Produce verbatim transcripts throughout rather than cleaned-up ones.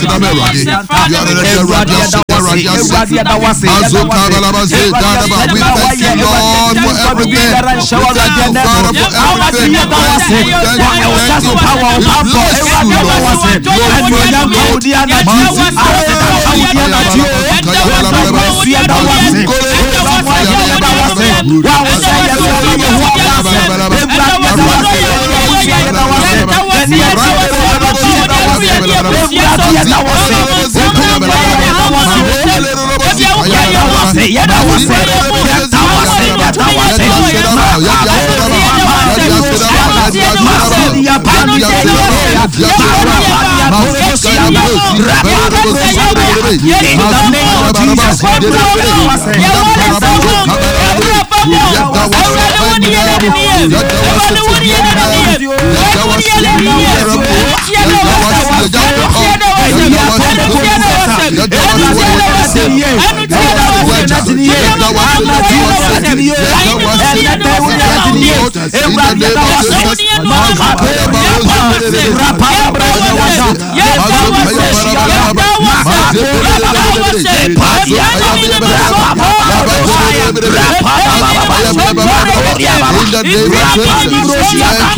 We thank you, Lord, for everything. We thank you, Father, for everything. We thank you, we thank you, we thank you. We bless you,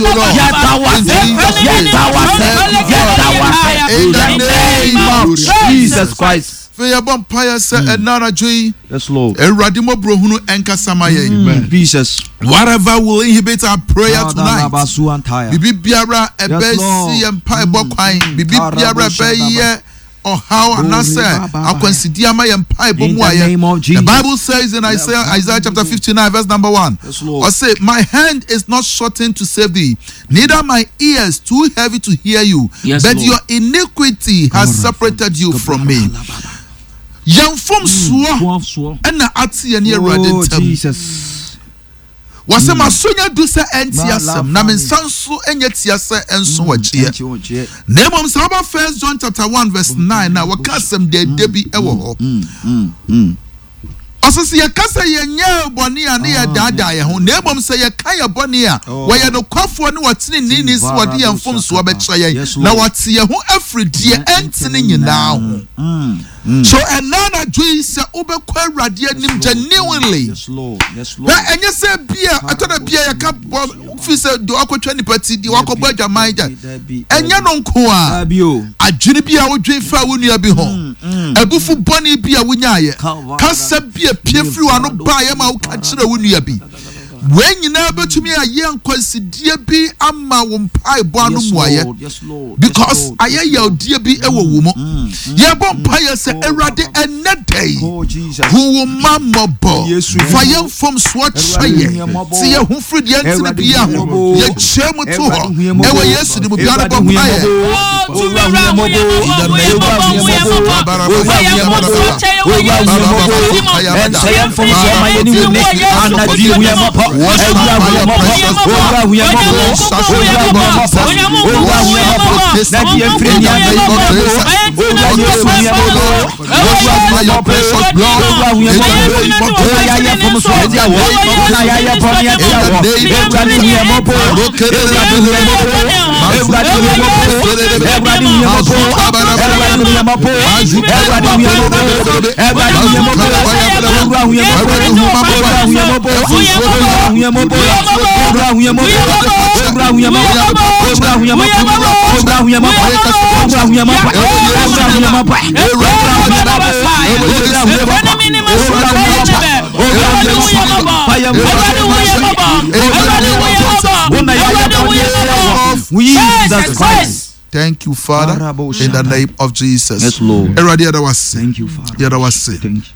Lord. In the name of Jesus Christ. Yes, Lord. Jesus. Whatever will inhibit our prayer tonight. Bibi biara ebe si empa ebo kwan. Bibi biara ebe ye or how anase akwansidi ama ye mpa ebo mu aye. The Bible says in Isaiah, Isaiah chapter fifty-nine verse number one. Yes, Lord. I say, my hand is not shortened to save thee, neither my ears too heavy to hear you. Yes, but Lord. Your iniquity has separated you from me. Yɛn fom soɔ ɛna ate yɛn ne Awurade Oh, ntam. Jesus. Wɔsɛ maso nya du sɛ ɛnte asɛm na me nsa nso nyɛ tia sɛ ɛnso wɔkyeɛ. Na mmom sɛ woba First John chapter one verse nine na wɔka asɛm dɛɛdɛ bi ɛwɔ hɔ. Ɔsɛ sɛ yɛka sɛ yɛnyɛ bɔne a ne yɛdaadaa yɛn ho, na mmom sɛ yɛka yɛ bɔne a wɔyɛ nokwafoɔ ne wɔteneneeni sɛ wɔde yɛn mfomsoɔ bɛkyerɛ yɛn na wɔte yɛn ho afiri deɛ ɛntene nyinaa ho. So ɛnna anadwo yi sɛ wobɛkɔ Awurade anim genuinely. Yes, Lord. Yes, Lord. Na ɛnyɛ sɛ bia ɛtɔ da bia yɛka bɔ fi sɛ deɛ wakɔtwa nipa ti deɛ wakɔbɔ adwaman gya ɛnyɛ no nko a adwene bi a wodwen fa wo nua bi ho abufu bɔne bi a wonyaayɛ kasa bi a pie firi w'ano baeɛ ma woka kyerɛ wo nua bi wei nyinaa bɛtumi ayɛ nkwansidie bi ama wo mpaebɔ ano mmuayɛ because ayɛ yawdie bi ɛwɔ wo mu. Yɛbɔ mpaeɛ sɛ Awurade ɛnnɛ da yi hu wo mma mmɔbɔ fa yɛn mfomsoɔ kyɛ yɛn sɛ yɛn ho firi deɛ ntene bia ho yɛkyerɛ mu to hɔ ɛwɔ Yesu din mu biara bɔ mpaeɛ. Jesus Christ. Thank you, Father, in the name of Jesus. Yes, Lord. Thank you, Father. Thank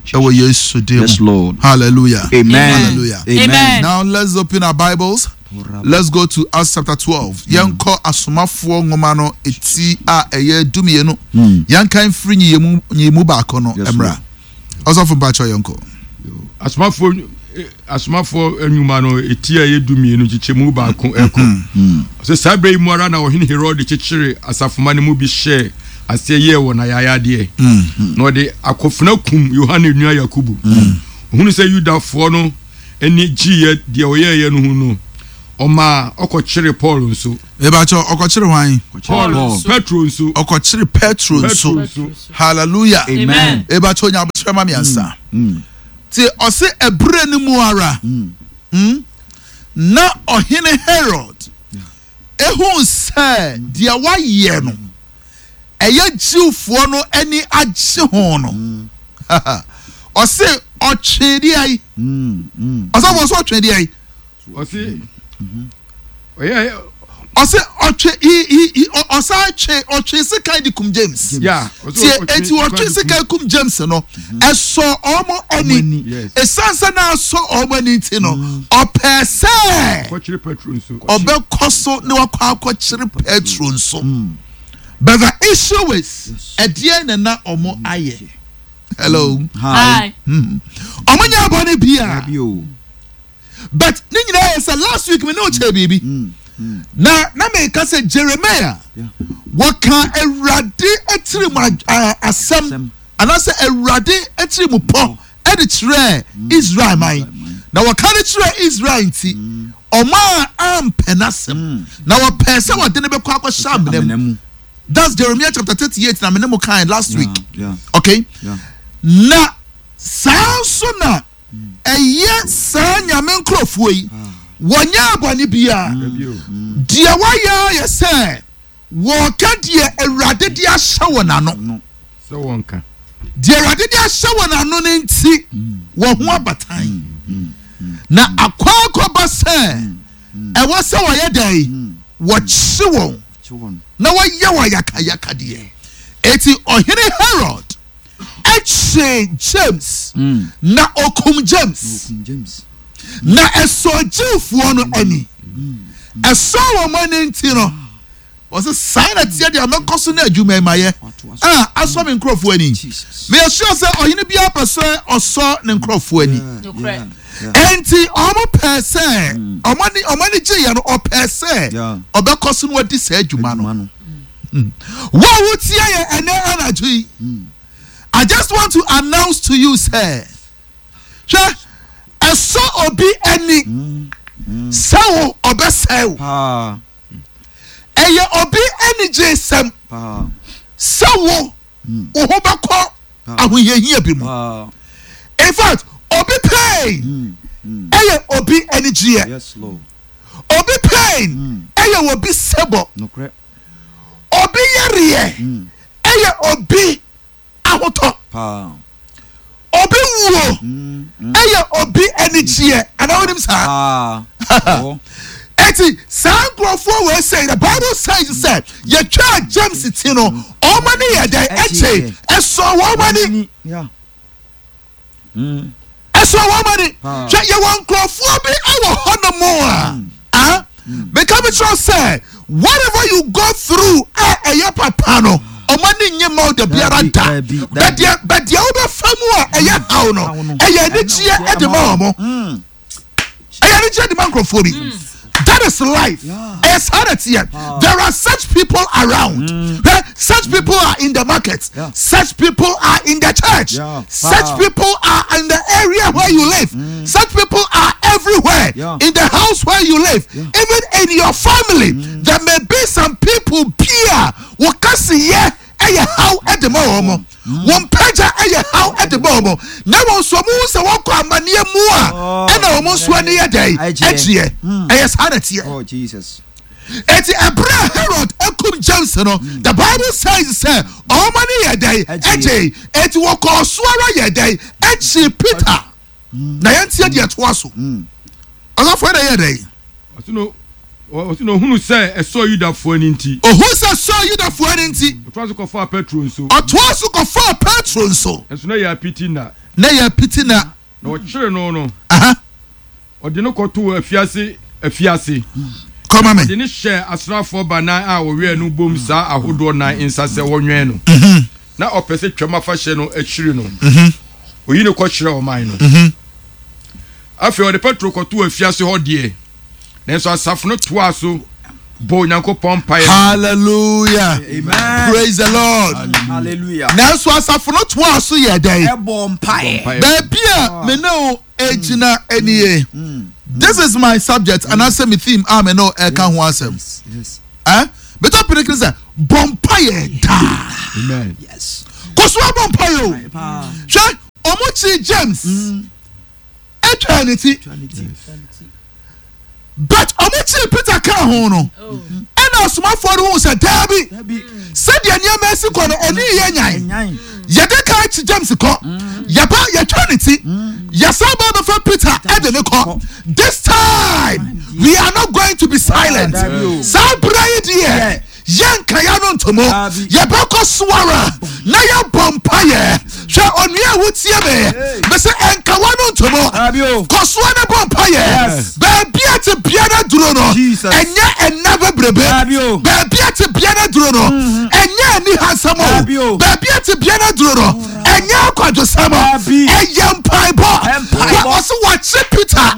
you, Jesus. Yes, Lord. Hallelujah. Amen. Hallelujah. Amen. Now let's open our Bibles. Let's go to Acts chapter twelve. Yɛnkɔ asomafoɔ nwoma no eti a ɛyɛ dumienu. Yɛnkan firi nyiyimu nyiyimu baako no emra. Ɔsɔfo mpakyɛ yɛnkɔ. Asomafoɔ asomafoɔ nnwuma no eti a ɛyɛ dumienu kyekyɛmu baako ɛkɔ. Sɛ saa bere yi mu ara na ɔhene Herode kyekyere asafoma no mu bi hyɛɛ aseɛ yɛɛ wɔ n'ayayadeɛ. Na ɔde akɔfena kum Yohane nua Yakubu. Ohunu sɛ Yudafoɔ no ani gyeeɛ deɛ ɔyɛeɛ no ho no, Ɔmaa ɔkɔkyeree Paul nso. Mebakyɛ ɔkɔkyere hwan? Paul Paul. Petro nso. Ɔkɔkyere Petro Petro nso. nso. Hallelujah. Amen. Mebakyɛ onya abotire ma miɛnsa. Ti ɔse ɛbrɛ no mu ara. Mm, na ɔhene Herod ehu sɛ deɛ wayɛ no ɛyɛ Jewfoɔ no ani agye ho no, ɔse ɔtwe deɛ yi, ɔsɔfo, ɔse ɔtwe deɛ yi. Ɔse ɔyɛ Ɔse ɔtwe he he he ɔ- ɔsan twe, ɔtwe sekan de kum James. Ya, ɔse tie ɔtwe eti ɔtwe sekan de sekan kum James no, ɛsɔ ɔmo ani. Yes. Esan sɛ na asɔ ɔmo ani ti no, ɔpɛ sɛ kɔkyere Petro nso. Ɔbɛkɔ so ne wakɔ akɔkyere Petro nso. But the issue is, ɛdeɛn na na ɔmo ayɛ? Hello? Hi. Hi. Ɔmo nyɛ abɔne bia. Dabi o. But ne nyinaa yɛ sɛ last week me ne o kyerɛ biribi na na meka sɛ Jeremiah Yeah. wɔka Awurade atiri mu a- a- asɛm Asɛm. anaasɛ Awurade atiri mu pɔ ɛde kyerɛ Israel man, na wɔka de kyerɛ Israel nti ɔmo a ampɛ n'asɛm na wɔpɛ sɛ wɔde ne bɛkɔ akɔhyɛ amena mu. Amena mu. That's Jeremiah chapter thirty-eight na me ne mo kan last Yeah, week. yeah. Okay. Yeah. Na saa nso na ɛyɛ saa Nyame nkurɔfoɔ yi, wɔnyɛ abɔne biara. Dabi o. Deɛ wɔyɛ ayɛ sɛ wɔka deɛ Awurade de ahyɛ wɔn ano. No. Sɛ wɔnka. Deɛ Awurade de ahyɛ wɔn ano no nti wɔn ho abatan na akɔ akɔba sɛ ɛwɔ sɛ wɔyɛ dɛn? Wɔkye wɔn Kye wɔn. na wɔyɛ wɔn yakayakadeɛ. Eti Ɔhene Herod ɛkye James na okum James. Okum James. Na ɛsɔ Jewfoɔ no ani, ɛsɔ wɔn ani nti no, wɔsɛ saa na teɛ deɛ mɛkɔ so ne adwuma yi ma yɛ a asɔ me nkurɔfoɔ ani. Jesus. Meyɛ sure sɛ ɔhene biara pɛ sɛ ɔsɔ ne nkurɔfoɔ ani. Nokorɛ. Yeah. Enti ɔmo pɛ sɛ ɔmo ani ɔmo ani gye yɛ no, ɔpɛ sɛ Yeah. ɔbɛkɔ so no wadi saa adwuma no. Adwuma no. Wo a wotie yɛ ɛnɛ anadwo yi, I just want to announce to you sɛ, hwɛ, ɛsɔ obi ani sɛ wo ɔbɛsɛe wo. Paa. Ɛyɛ obi ani gye sɛm Paa. sɛ wo wo ho bɛkɔ ahohiahia bi mu. Paa. In fact, obi pain ɛyɛ obi anigyeɛ. Yes, Lord. Obi pain ɛyɛ obi sɛbɔ. Nokorɛ. Obi yareɛ ɛyɛ obi ahotɔ. Paa. Obi wuo ɛyɛ obi anigyeɛ, anaa wonim saa? Paa. Ɔ. Eti saa nkurɔfoɔ wɔ sɛ the Bible says sɛ yɛtwa James ti no, ɔmo ani yɛ dɛ? Ɛkye ɛsɔ wɔn ani. Yeah. Ɛsɔ wɔn ani. Paa. Hwɛ, yɛwɔ nkurɔfoɔ bi ɛwɔ hɔnom a ah meka bi kyerɛ sɛ whatever you go through a ɛyɛ papa no, ɔmo ani nye ma wo da biara Dabi, da. dabi, dabi. Bɛdeɛ bɛdeɛ wobɛfa mu a ɛyɛ haw no, Haw no. ɛyɛ anigyeɛ ɛde ma wɔn. Mm. Ɛyɛ anigyeɛ de ma nkurɔfoɔ bi. That is life. Yeah. Ɛyɛ saa na teɛ. There are such people around. Eh, such people are in the market. Yeah. Such people are in the church. Yeah. Such Wow. people are in the area where you live. Such people are everywhere. Yeah. In the house where you live, even in your family, there may be some people bia wɔkasiyɛ ɛyɛ haw ɛde ma wɔn, wɔn pagya ɛyɛ haw ɛde ma wɔn, na wɔn nso wɔn ho sɛ wɔkɔ amaneɛ mu a, Oh, ɛna wɔn nso ani yɛ dɛ? Ɛgyeɛ. Ɛgyeɛ. Ɛyɛ saa na teɛ. Oh, Jesus. Eti ɛbrɛ a Herod ekum James no, the Bible says sɛ ɔmo ani yɛ dɛ? Ɛgyeɛ. Ɛgye. Eti wɔkɔɔ so ara yɛ dɛ? Ɛkyi Peter. Na yɛn tie deɛ ɛtoa so. Ɔsɔfo, ɛna yɛ dɛ? Ɔsi no ɔsi no ohunu sɛ ɛsɔ Yudafoɔ ani nti, Ohun sɛ sɔ Yudafoɔ ani nti, ɔtoa so kɔfaa Petro nso. Ɔtoa so kɔfaa Petro nso. Nso na yɛ apiti na Na yɛ piti na. Na ɔkyere no no Aha. ɔde no kɔtoo afiase afiase Kɔma Ɔde mi. ne hyɛ asraafoɔ banan a wɔwɛn no bom saa ahodoɔ nan nsa sɛ wɔnwɛn no, na ɔpɛ sɛ Twam afahyɛ no akyiri no, oyi no kɔkyerɛ ɔman no. Afei ɔde Petro kɔtoo afiase hɔ deɛ, nanso asafo no toaa so bɔ Onyankopɔn mpaeɛ. Hallelujah. Amen. Praise the Lord. Hallelujah. Nanso asafo no toa so yɛ dɛn? Ɛbɔ mpaeɛ. Mpaeɛ. Baabi a me ne wo egyina nie. This is my subject anaasɛ me theme a me ne ɛka ho asɛm. Yes. Yes. Eh? Me topic ne sɛ bɔ mpaeɛ daa. Amen. Yes. Kɔ so abɔ mpaeɛ o. Paa. Hwɛ, ɔmo kyi James atwa ne ti, Twa ne ti. but ɔmo kyi Peter ka ho no, ɛna asomafoɔ no hu sɛ daabi, Dabi. sɛdeɛ nneɛma esi kɔ no, ɛne yɛ nyan. Nyan. Yɛde ka akyi James kɔ, yɛba yɛtwa ne ti, yɛsan ba bɛfa Peter ɛde ne kɔ. This time we are not going to be silent. Dabi o. Saa bere yi deɛ, yɛnka ya no ntomo. Dabi. Yɛbɛkɔ soara na yɛbɔ mpayɛ. Hwɛ, onua a wotie me, mɛsɛ ɛnka wa no ntomo. Dabi o. Kɔ soa ne bɔ mpayɛ. Yes. Baabi a te bia no duro no, Jesus. ɛnyɛ ɛna bebrebe. Dabi o. Baabi a te bia no duro no, ɛnyɛ ani hansɛm o. Dabi o. Baabi a te bia no duro no, ɛnyɛ akwadwosɛm o. Dabi. Ɛyɛ mpaebɔ. Mpaebɔ. Wɔ- ɔsɛ wɔkye Peter,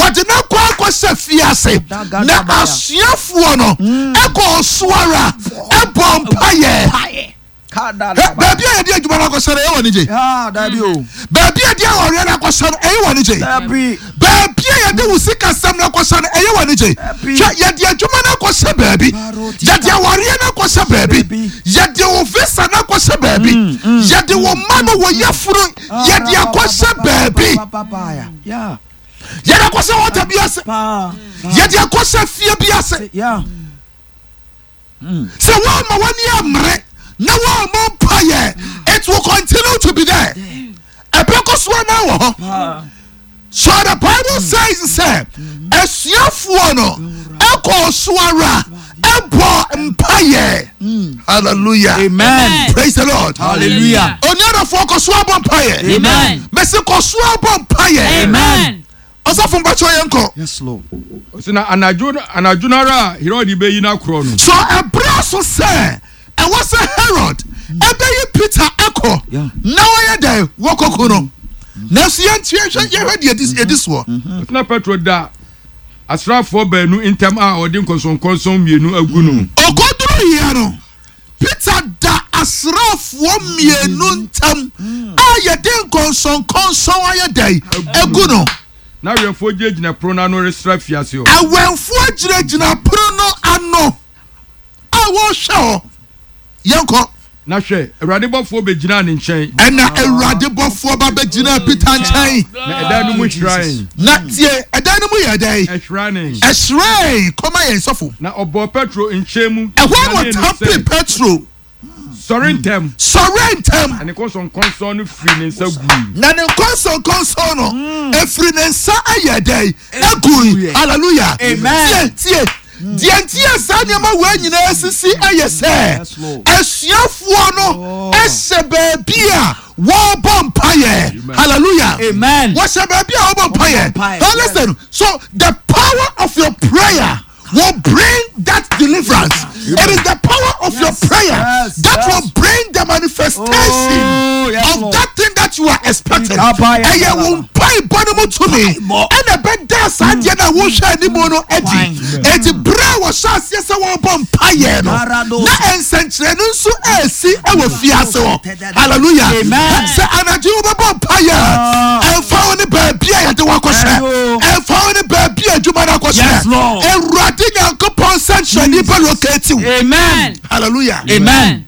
wɔde no kɔ akɔhyɛ fiase, na asuafoɔ no ɛkɔ ɔsoara ɛbɔ mpayɛ. Pae. Kada. Hɛ, baabi a yɛde adwuma no akɔhyɛ no, ɛyɛ wɔ ne gye. Ah, dabi o. Baabi a yɛde awareɛ no akɔhyɛ no, ɛyɛ wɔ ne gye. Dabi. Baabi a yɛde wo sikasɛm no akɔhyɛ no, ɛyɛ wɔ ne gye. Dabi. Hwɛ, yɛde adwuma no akɔhyɛ baabi, yɛde awareɛ no akɔhyɛ baabi, Baabi. yɛde wo visa no akɔhyɛ baabi, yɛde wo ma no wɔ yɛforo, yɛde akɔhyɛ baabi, Yeah. yɛde akɔhyɛ wɔta bi ase, Paa. yɛde akɔhyɛ fie bi ase. Yeah. Sɛ wɔama w'ani ammere na wɔama mpayɛ, it will continue to be there. Ɛbɛkɔ so anaa wɔ hɔ. Paa. So the Bible says sɛ asuafoɔ no ɛkɔ so ara ɛbɔ mpayɛ. Hallelujah. Amen. Praise the Lord. Hallelujah. Onuadɔfoɔ, kɔ so abɔ mpayɛ. Amen. Mɛsi kɔ so abɔ mpayɛ. Amen. Ɔsɔfo, mpakyɛ, yɛn kɔ. Yes, Lord. Ɔsɛ na anadwo anadwo no ara a Herod bɛyi no akorɔ no, So ɛbrɛ so sɛ ɛwɔ sɛ Herod ɛbɛyi Peter ɛkɔ Yeah. na wɔyɛ dɛ wɔkɔko no, nanso yɛntie hwɛ, yɛhwɛ deɛ ɛdi ɛdi soɔ. Ɔsɛ na Petro da asraafoɔ baanu ntam a ɔde nkɔnsɔnkɔnsɔn mmienu agu no. Ɔkɔduru yɛ no, Peter da asraafoɔ mmienu ntam a yɛde nkɔnsɔnkɔnsɔn ayɛ dɛ egu no. Na awɛmfoɔ gyinagyina pono no ano resra fiase hɔ. Awɛnfoɔ gyinagyina pono no ano a wɔrehwɛ hɔ. Yɛnkɔ. Na hwɛ, Awurade bɔfoɔ bɛgyinaa ne nkyɛn. Ɛna Awurade bɔfoɔ ba bɛgyina Peter nkyɛn. Na ɛdan no mu hyerɛn. Na tie, ɛdan no mu yɛ dɛn? Ɛhyerɛn. Ɛhyerɛn. Kɔma yɛn, sɔfo. Na ɔbɔɔ Petro nkyɛn mu Ɛhɔ na nyanee no ɔtampe sɛ, Petro. "Sɔre ntɛm." Sɔre ntɛm. Na ne nkɔnsɔnkɔnsɔn no firi ne nsa gui. Na ne nkɔnsɔnkɔnsɔn no efiri ne nsa ayɛ dɛn? Egui. Hallelujah. Amen. Tie, tie deɛ nti yɛ saa nneɛma wei nyinaa sisi ɛyɛ sɛ Yes, Lord. asuafoɔ no ɛhyɛ baabi a wɔrebɔ mpayɛ. Hallelujah. Amen. Wɔhyɛ baabi a wɔbɔ mpayɛ. Mpaeɛ, Now yes. listen, so the power of your prayer will bring that deliverance. It is the power of your Yes, prayer yes, that yes. will bring the manifestation Oh, yes, of Lord. that thing that you are expecting. Ikabai, Ɛyɛ wo mpaebɔ no mu tumi Mpaebɔ. ɛna ɛbɛda saa deɛ no a wohwɛ anim no adi. Enti berɛ a wɔhyɛ aseɛ sɛ wɔrebɔ mpayɛ no, Parado. na nsɛnkyerɛnne nso ɛresi ɛwɔ fiase hɔ. Hallelujah. Amen. Sɛ anadwo yi wobɛbɔ mpayɛ a, ɛmfa wo ne baabi a yɛde wakɔhyɛ, Ayo. ɛmfa wo ne baabi a adwuma no akɔhyɛ. Yes, Lord. Awurade Nyankopɔn nsɛnkyerɛnne bɛ locate wo. Amen. Hallelujah. Amen.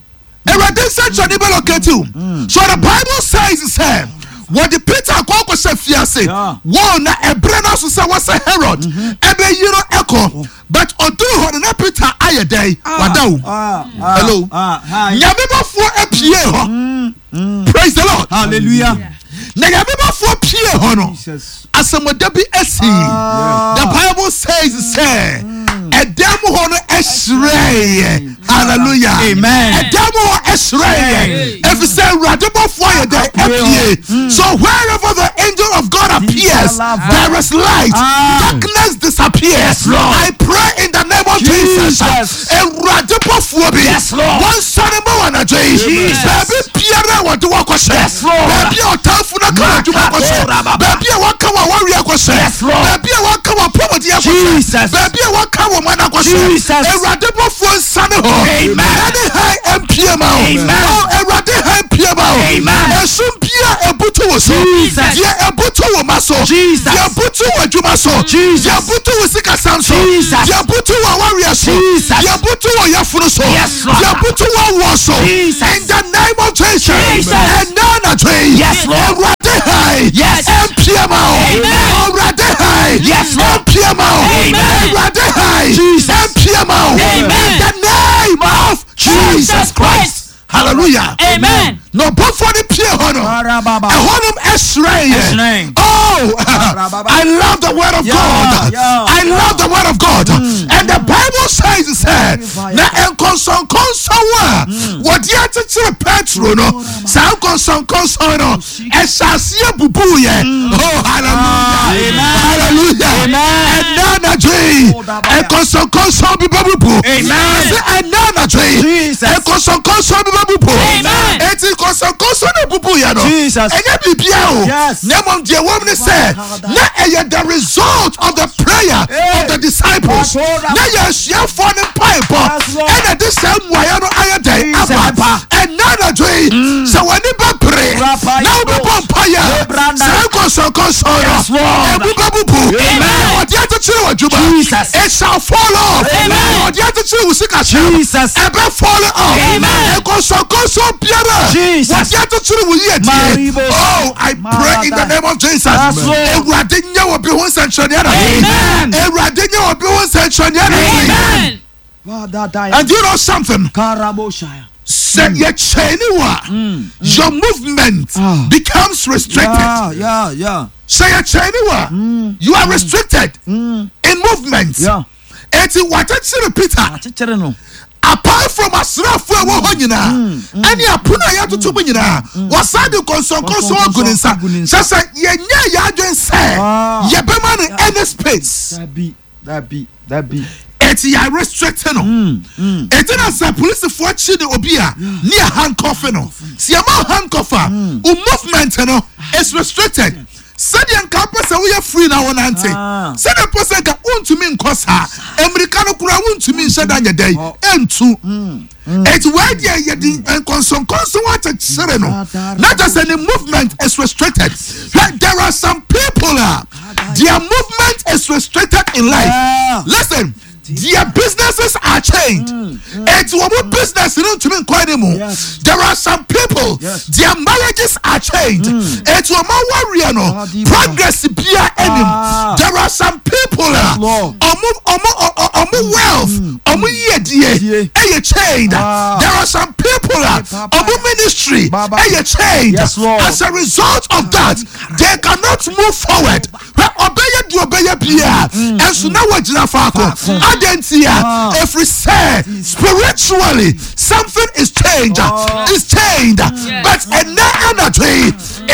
Awurade nsɛnkyerɛnne bɛ locate wo. So the Bible says sɛ wɔde Peter akɔ akɔhyɛ fiase. Yeah. Wɔn na ɛbrɛ no so sɛ wɔsɛ Herod ɛbɛyi no ɛkɔ, but ɔduru hɔ no, na Peter ayɛ dɛn? Wada o. Ah, ah, Hello. Ah, hi. Nyame bɔfoɔ apue hɔ. Praise the Lord. Hallelujah. Na Nyame bɔfoɔ pie hɔ no, Jesus. asɛmɔda bi asi. Ah. The Bible says sɛ ɛdan mu hɔ no ɛhyerɛeɛ. Hallelujah. Amen. Ɛdan mu hɔ ɛhyerɛeɛ ɛfiri sɛ Awurade bɔfoɔ ayɛ dɛ? Apue. So wherever the angel of God appears, there is light. Ah. Darkness disappears. Lord. I pray in the name of Jesus, Jesus. Awurade bɔfoɔ bi Yes, Lord. wɔnsane ma wɔ anadwo yi. Jesus. Baabi biara a wɔde wɔkɔhyɛ, Yes, Lord. baabi a ɔtamfo no ka adwuma akɔhyɛ, baabi a wɔka wɔ awareɛ akɔhyɛ, Yes, Lord. baabi a wɔka wɔ apɔmuden akɔhyɛ, Jesus. baabi a wɔka wɔ man akɔhyɛ, Jesus. Awurade bɔfoɔ nsane hɔ. Amen. Ɛne han mpie ma wo. Amen. Oh, Awurade han mpie ma wo. Amen. Ɛsum bia ebutu wo so, Jesus. deɛ ɛbutu wo ma so, Jesus. deɛ ɛbutu wo adwuma so, Jesus. deɛ ɛbutu wo sikasɛm so, Jesus. deɛ ɛbutu wo awareɛ so, Jesus. deɛ ɛbutu wo yafunu so, Yes, Lord. deɛ ɛbutu wo awoɔ so, Jesus. in the name of Jesus, Jesus. ɛnna anadwo yi, Yes, Lord. Awurade han, Yes. ɛmpie ma wo, Amen. Awurade han, Yes, Lord. ɛmpie ma wo, Amen. Awurade han, Jesus. ɛmpie ma wo, Amen. in the name of Jesus Jesus Christ. Christ. Hallelujah. Amen. Na ɔbɔfoɔ no pie hɔ no, Karababa. ɛhɔnom ɛhyerɛn yɛ. Ɛhyerɛn. Oh, Karababa. I love the word of Yeah, God. yeah, I yeah. love the word of God. And the Bible says sɛ, na nkɔnsɔnkɔnsɔn a wɔde akyekyere Petro no, saa nkɔnsɔnkɔnsɔn no, ɛhyɛ aseɛ bubu yɛ. Oh, hallelujah. Amen. Hallelujah. Amen. Ɛnna anadwo yi, nkɔnsɔnkɔnsɔn bi bɛbubu. Amen. Sɛ ɛnna anadwo yi, Jesus. nkɔnsɔnkɔnsɔn bi bɛbubu. Amen. Eti nkɔnsɔnkɔnsɔn na bubu yɛ no, Jesus. ɛnyɛ biribiara o. Yes. Na mmom deɛ wɔm ne sɛ, na ɛyɛ the result of the prayer Hey. of the disciples. Pastor. Na yɛ asuafoɔ ne mpaebɔ Yes, Lord. ɛna de saa mmuaeɛ no ayɛ dɛn Jesus. aba. Ɛnna anadwo yi, sɛ w'ani bɛpere Rapa na wobɛbɔ mpaeɛ, Lebranda. saa nkɔnsɔnkɔnsɔn Yes, no Lord. ɛbu bɛbubu. Amen. Ɔde akyekyere w'adwuma, Jesus. it shall fall off. Amen. Ɔde akyekyere wo sikasɛm, Jesus. ɛbɛ fall off. Amen. Nkɔnsɔnkɔnsɔn biara Jesus. wɔde akyekyere wo yiedie, Maribo. oh, I pray in the Marada. name of Jesus, Yes, Lord. Awurade nyɛ wɔ bi ho nsɛnkyerɛnneɛ anadwo yi. Amen. Awurade nyɛ wɔ bi ho nsɛnkyerɛnneɛ anadwo yi. Amen. And you know something, Karaboshaya. sɛ yɛkyɛn wo a, your movement Ah. becomes restricted. Yeah, yeah, yeah. Sɛ yɛkyɛn wo a, you are restricted in movement. Yeah. Eti wakyekyere Peter. Akyekyere no. Apart from asraafoɔ a ɛwɔ hɔ nyinaa ɛne apono a yɛatoto mu nyinaa, wɔsan de nkɔnsɔnkɔnsɔn agu ne nsa, Agu ne nsa. kyɛ sɛ yɛnyɛ yɛ adwen sɛ Ah. yɛbɛma no any space. Dabi, dabi, dabi. Eti yɛ restrict no. Eti na sɛ polisifoɔ kyi ne obi a, ne yɛ handcuff no, si yɛma handcuff a, o movement no is restricted. Sɛdeɛ nka pɛ sɛ woyɛ free na wɔnante, Ah. sɛdeɛ pɛ sɛ nka wontumi nkɔ saa mmirika no koraa, wontumi nhyɛ da nyɛ dɛn ɛntu. Eti wei deɛ, yɛde nkɔnsɔnkɔnsɔn akyekyere no na kyerɛ sɛ ne movement is restricted. Hwɛ, there are some people a their movement is restricted in life. Yeah. Listen, their businesses are chained. Eti wɔn mu business no ntumi nkɔ anim. Yes. There are some people, Yes. their marriages are chained. Eti wɔn awareɛ no, Ah, progress bia anim. Ah. There are some people a Lord. ɔmo ɔmo ɔ- ɔ- ɔmo wealth, ɔmo yiedie Yie. ɛyɛ chained. Ah. There are some people a Baba. ɔmo ministry Baba. ɛyɛ chained. Yes, Lord. As a result of that, they cannot move forward. Hwɛ, ɔbɛyɛ deɛ ɔbɛyɛ bia ɛnso na wɔgyina faako. Adɛn a? Ah. Ɛfiri sɛ spiritually something is changed, Oh. is chained. But ɛnɛ anadwo yi,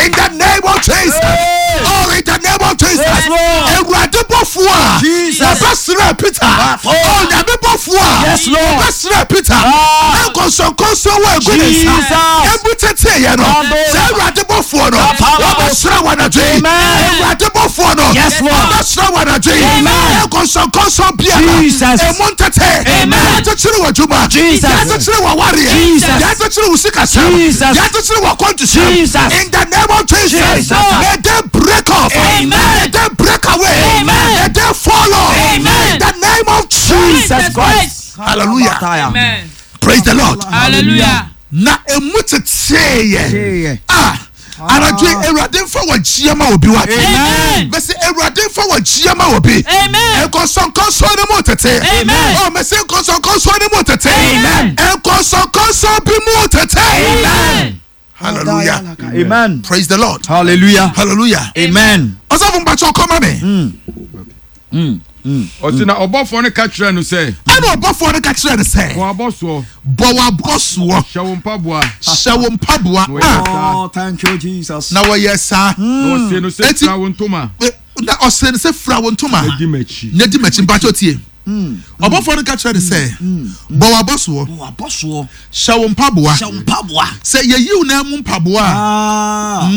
in the name of Jesus, Hey. oh, in the name of Jesus, Yes, Lord. Awurade bɔfoɔ a Jesus. wɔbɛsrɛ Peter, oh, Nyame bɔfoɔ a Yes, Lord. wɔbɛsrɛ Peter Ah. na nkɔnsɔnkɔnsɔn wɔ egu ne nsa Jesus. ebu teteeɛ no, Ado. sɛ Awurade bɔfoɔ no Papa. wɔbɛsrɛ wɔ anadwo yi, Amen. Awurade bɔfoɔ no Yes, Lord. wɔbɛsrɛ wɔ anadwo yi, Amen. nkɔnsɔnkɔnsɔn biara Jesus. emu ntete Amen. yɛakyekyere wɔ adwuma, Jesus. yɛakyekyere wɔ awareɛ, Jesus. yɛakyekyere wɔ sikasɛm, Jesus. yɛakyekyere wɔ akwantusɛm, Jesus. in the name of Jesus, Jesus. may they break off. Amen. May they break away. Amen. May they fall off. Amen. In the name of Jesus Jesus Christ. Hallelujah. Amen. Praise the Lord. Hallelujah. Na emu teteeɛ ah, anadwo yi, Awurade mfa wɔ gyia ma obi wa. Amen. Mɛsɛ Awurade mfa wɔ gyia ma obi. Amen. Nkɔnsɔnkɔnsɔn ne mu tete. Amen. Oh, mɛsɛ nkɔnsɔnkɔnsɔn ne mu tete. Amen. Nkɔnsɔnkɔnsɔn bi mu tete. Amen. Hallelujah. Amen. Praise the Lord. Hallelujah. Hallelujah. Amen. Ɔsɔfo, mpatsɔ kɔma mi. Ɔsi na ɔbɔfoɔ no ka kyerɛ no sɛ, Ɛna ɔbɔfoɔ no ka kyerɛ no sɛ, bɔ abɔsoɔ, bɔ w'abɔsoɔ, hyɛ wo mpaboa. Hyɛ wo mpaboa. Na wɔyɛ Ah, saa. Oh, thank you, Jesus. Na wɔyɛ saa. Na ɔse no sɛ, Eti- fira wo ntoma Eh, na ɔsɛ no sɛ, fira wo ntoma na di m'akyi. na di m'akyi. Mpatsɔ tie, ɔbɔfoɔ no ka kyerɛ no sɛ, bɔ w'abɔsoɔ, Bɔ abɔsoɔ, hyɛ wo mpaboa. hyɛ wo mpaboa. Sɛ yɛyi wo nan mu mpaboa a, Ah.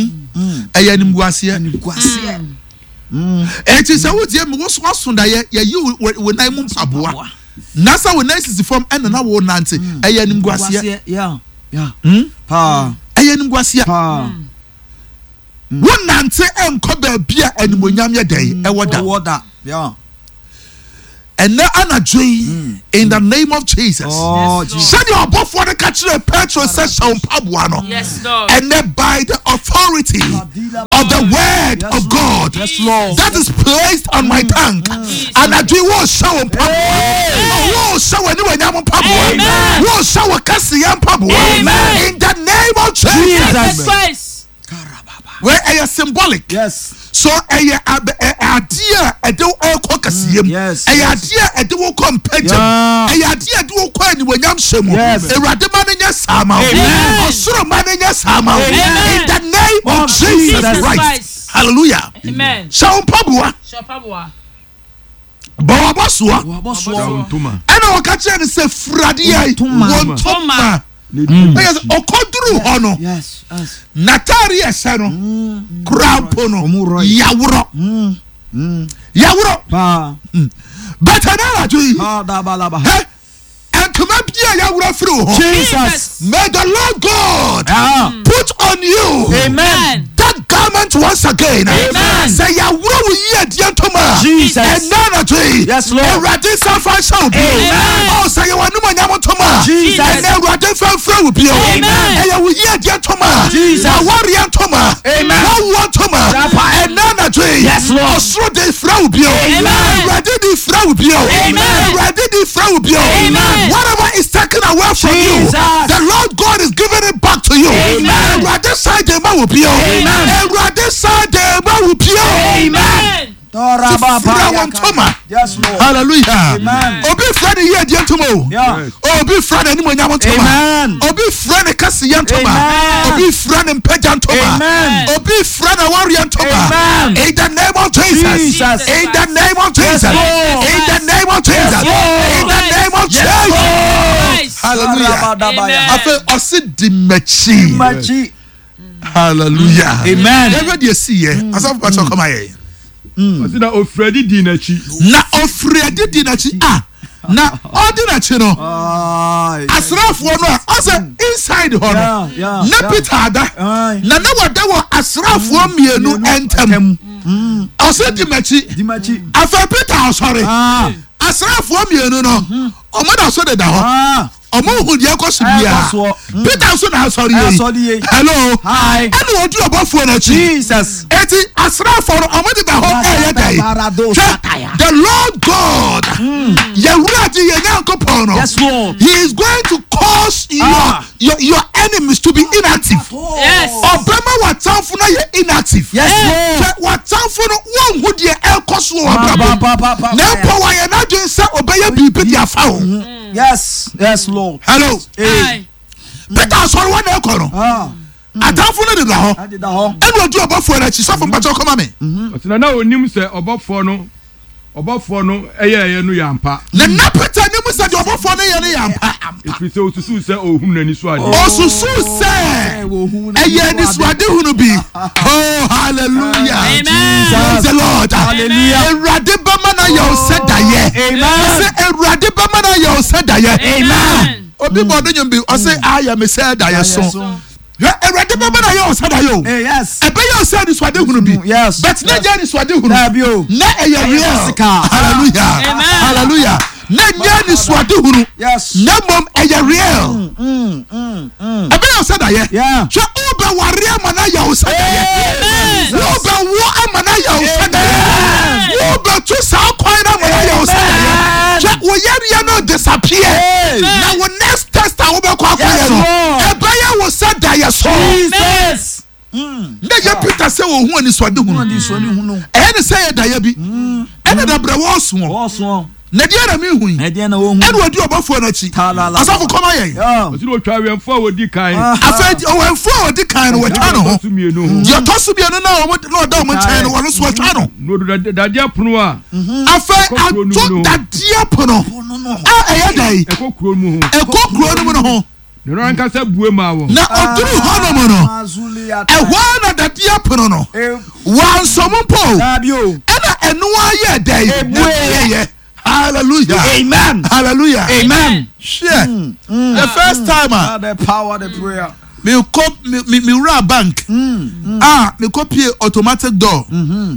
ɛyɛ animguaseɛ. Animguaseɛ. Eti sɛ wotie mi, woso aso daeɛ, yɛyi wo- wo wo nan mu mpaboa na sɛ wo nan sisi fam ɛna na wo nante, ɛyɛ animguaseɛ. Animguaseɛ. Yeah. Yeah. Hmm? Pa. Ɛyɛ animguaseɛ. Pa. Wonante ɛnkɔ baabi a animonyam yɛ dɛn ɛwɔ da. Ɛwɔ da. Yeah. Ɛnɛ anadwo yi, in the name of Jesus, Oh, Yes, Jesus. sɛdeɛ ɔbɔfoɔ no ka kyerɛ Petro sɛ hyɛ wo mpaboa no, Yes, Lord. ɛnɛ by the authority of the word Yes, of God Lord. Yes, Lord. that is placed on my tongue, anadwo yi wɔrehyɛ wo mpaboa, wɔrehyɛ w'animuonyam mpaboa, Amen. wɔrehyɛ wo kɛseyɛ mpaboa, Amen. in the name of Jesus. Jesus Christ. Wei ɛyɛ symbolic. Yes. So ɛyɛ ab- ɛ- adeɛ a ɛde wo ɛkɔ kɛseɛ mu, Yes, ɛyɛ yes. adeɛ a ɛde wo kɔ mpagya mu, Yeah. ɛyɛ adeɛ a ɛde wo kɔ animuonyam hyɛ mu. Yes. Awurade ma no nyɛ saa ma wo. Amen. Ɔsoro ma no nyɛ saa ma wo, Amen. in the name of Of Jesus Jesus Christ. Christ. Hallelujah. Amen. Hyɛ wo mpaboa, Hyɛ bɔ wabɔ soa. Wabɔ Hyɛ wo soɔ. ntoma. Ɛna wɔka kyerɛ no sɛ firadeɛ yi Ntoma. wɔ ntoma. Na di Ɛyɛ sɛ n'akyi. ɔkɔduru hɔ no, Yes. Yes. n'ataare a ɛhyɛ no koraa mpo no Ɔmo rɔ yi. yaworɔ, Mm. Mm. yaworɔ. Paa. Bɛtɛ no anadwo yi, Ah, da ba la ba. hɛ, ntoma bi a yaworɔ firi wo hɔ, Jesus. may the Lord God Ah. put on you Amen. that garment once again. Amen. Sɛ yaworɔ wo yiedie ntoma a, Jesus. ɛnɛ anadwo yi, Yes, Lord. Awurade nsa fa nhyɛ wo bio. Amen. Ɔ, sɛ yɛwɔ animuonyam ntoma a, Jesus. ɛnɛ Awurade mfa mfrɛ wo bio. Amen. Ɛyɛ wo yiedie ntoma a, Jesus. awareɛ ntoma a, Amen. wawoɔ ntoma a, Yapa. ɛnɛ anadwo yi, Yes, Lord. ɔsoro de frɛ wo bio. Amen. Awurade de frɛ wo bio. Amen. Awurade de frɛ wo bio. Amen. Whatever is taken away from you, Jesus. the Lord God is giving it back to you. Amen. Awurade san de ma wo bio. Amen. Awurade san de ma wo bio. Amen. Dora ba Fira ba wo ya ntoma. ka. Yes, Lord. Hallelujah. Amen. Obi frɛ ne yiedie ntoma o. Yeah. Yes. Obi frɛ ne animuonyam ntoma. Amen. Obi frɛ ne kɛseyɛ ntoma. Amen. Obi frɛ ne mpagya ntoma. Amen. Obi frɛ ne awareɛ ntoma. Amen. In the name of Jesus. Jesus. In the name of Jesus. Lord. In the name of Jesus. Lord. In the name of Yes, Jesus. Christ. Hallelujah. Rabadabaya. Amen. Afei ɔsi di m'akyi. Machi. Hallelujah. Amen. Yɛhwɛ deɛ si yɛ. Asafo pàṣẹ ɔkɔma yɛ. Ɔse na ofiri adi dii n'akyi. Na ofiri adi di n'akyi a, na ɔdi n'akyi no, Aye. asraafoɔ no a ɔsɛ inside hɔ no, Yeah, yeah, na yeah. Peter ada Aye. na na wada wɔ asraafoɔ mmienu ntam. Mm. Ɔsɛ di m'akyi. Di m'akyi. Afei Peter ɔsɔre, Ah. asraafoɔ mmienu no, ɔmo da so deda hɔ. Ah. Ɔmo hu deɛ ɛkɔ so Ɛkɔ biara. soɔ. Mm. Peter nso na asɔre yie. Asɔre yie. Hello. Hi. Ɛna ɔdi ɔbɔfoɔ n'akyi. Jesus. Eti asraafoɔ no, ɔmo deda hɔ ɛyɛ dɛ. Barado Hwɛ, sataya. the Lord God, yɛwura di yɛn Nyankopɔn no, Yes, Lord. he is going to cause your Ah. your your enemies to be inactive. Yes. Ɔbɛma w'atamfo no yɛ inactive. Yes, Lord. Hwɛ, w'atamfo no, wɔnhu deɛ ɛrekɔ so wɔ Ba, w'abrabɔ ba, mu. ba, ba, ba, Na mpo wɔayɛ n'adwene sɛ ɔbɛyɛ biribi de afa wo. Yes. Yes, Lord. Hello. Aye. Peter asɔre wɔn na ɛkɔ no, Ah. atamfo no deda hɔ. Adeda hɔ. Ɛna ɔdi ɔbɔfoɔ no akyi. Sɔfo mpakyɛ ɔkɔma me. Ɔse na na onim sɛ ɔbɔfoɔ no ɔbɔfoɔ no ɛyɛɛyɛ no yɛ ampa, Na na Peter nim sɛ deɛ ɔbɔfoɔ no yɛ no yɛ ampa. ɛfiri sɛ osusuu sɛ ɔhunu n'ani so adeɛ. Ɔsusu sɛ ɛyɛ anisoadehunu bi. Oh, hallelujah. Amen. Praise the Lord. Hallelujah. Awurade bɛma no ayɛ wo sɛ dayɛ. Amen. Sɛ Awurade bɛma no ayɛ wo sɛ dayɛ. Amen. Obi bɔ ɔdo nwom bi, ɔsɛ ayɛ me sɛ dayɛ so. Hwɛ, Awurade bɛma no ayɛ wo sɛ dayɛ o. Hey, yes. Ɛbɛyɛ wo sɛ anisoadehunu bi, Yes. but na nyɛ anisoadehunu. Dabi o. Na ɛyɛ real. Physical. Hallelujah. Amen. Hallelujah. Na nyɛ anisoadehunu, Yes. na mmom ɛyɛ real. Mm, mm, mm. Ɛbɛyɛ wo sɛ dayɛ. Yeah. Hwɛ, wobɛware ama no ayɛ wo sɛ dayɛ. Amen. Wobɛwo ama no ayɛ wo sɛ dayɛ. Wobɛto saa kwan no ama no ayɛ wo sɛ dayɛ. Hwɛ, wo yareɛ no disappear, Hey. na wo next test a wobɛkɔ akɔyɛ Yes, no, Lord. ɛbɛyɛ wo sɛ dayɛ so. Jesus. Mm. Na yɛ Peter sɛ wɔhu anisoadehunu, Anisoadehunu. ɛyɛ ne sɛ yɛ dayɛ bi, ɛna dabrɛ wɔɔsoɔ. Ɔsoɔ. Na deɛ na mehu yi, Ɛdeɛ na wɔhu. ɛna ɔdi ɔbɔfoɔ no akyi. Talala. Asafo, kɔma yɛn. Yeah. Ɔse na otwa awɛmfoɔ a wɔdi kan. Ah. Afei ɔwɛmfoɔ a ɔdi kan no, wɔatwa ne ho. Deɛ ɔtɔ so mmienu ho. Deɛ ɔtɔ so mmienu na ɔmo na ɔda ɔmo nkyɛn no, wɔno nso wɔatwa no. Na odu dade- dadeɛ pono a Afei Ɛkɔ kuro no ato mu no. dadeɛ pono a ɛyɛ dɛ ɛkɔ kuro mu ho, ɛkɔ kuro no mu no ho. Na ɔno ankasa bue maa wɔn. Na ɔduru hɔnom no, ɛhɔ ara na dadeɛ pono no wansɔm mpo o, Dabi o. ɛna ɛno ayɛ dɛ Ebue. ɛyɛ. Hallelujah. Amen. Hallelujah. Amen. Hwɛ, the first time a Ah, the power, the prayer. Mekɔ me me mewura bank a, mekɔ pie automatic door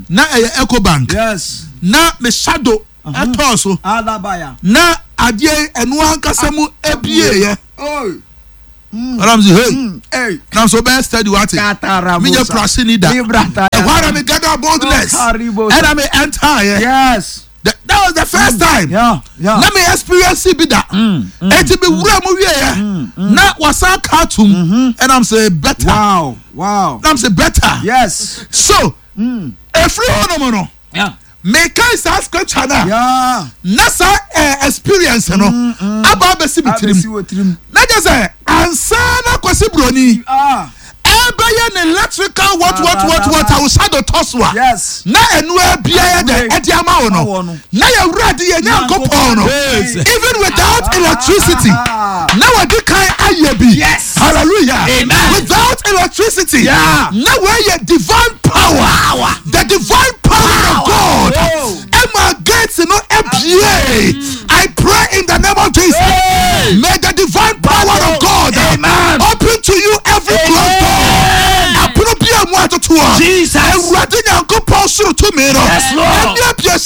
na ɛyɛ Ecobank. Yes. Na me shadow ɛtɔɔ so. Alabaya. Na adeɛ ɛno ankasa mu ebieɛ. Oh. Ɔnam sɛ, hey. Hey. Nam so bɛyɛ steady wate. Katarabosa. Menyɛ prase ni da. Librata. Ɛhɔ ara me gather boldness. Oh, Karibosa. Ɛna me enter yɛ. Yes. That that was the first time Yeah. Yeah. na me experience bi da. Eti me wura mu wie yɛ na wasan ka atum, ɛnam sɛ better. Wow. Wow. Nam sɛ better. Yes. So efiri hɔ nom no, Yeah. meka saa scripture na Yeah. na saa eh, experience no aba abɛsi mi Abɛsi tirim. wɔ tirim. Na kyerɛ sɛ ansa na Kwasi Buroni Ah. ɛbɛyɛ ne electrical what what what what a wosa do tɔ so a, Yes. na ɛnu biara dɛ ɛde ama wo Ama wo no, no. na yɛwura de yɛ Nyankopɔn no, Yes. even without electricity, Ah. na wɔde kan ayɛ bi. Yes. Hallelujah. Amen. Without electricity, Yeah. na wɔyɛ divine power, the divine power of God Oh. ɛma gate no ebie. I pray in the name of Jesus, Hey. may the divine power of God Amen. open to you every closed door. Apono bi a mu atoto a, Jesus. Awurade Nyankopɔn soro tumi no Yes, Lord. ɛne abie saa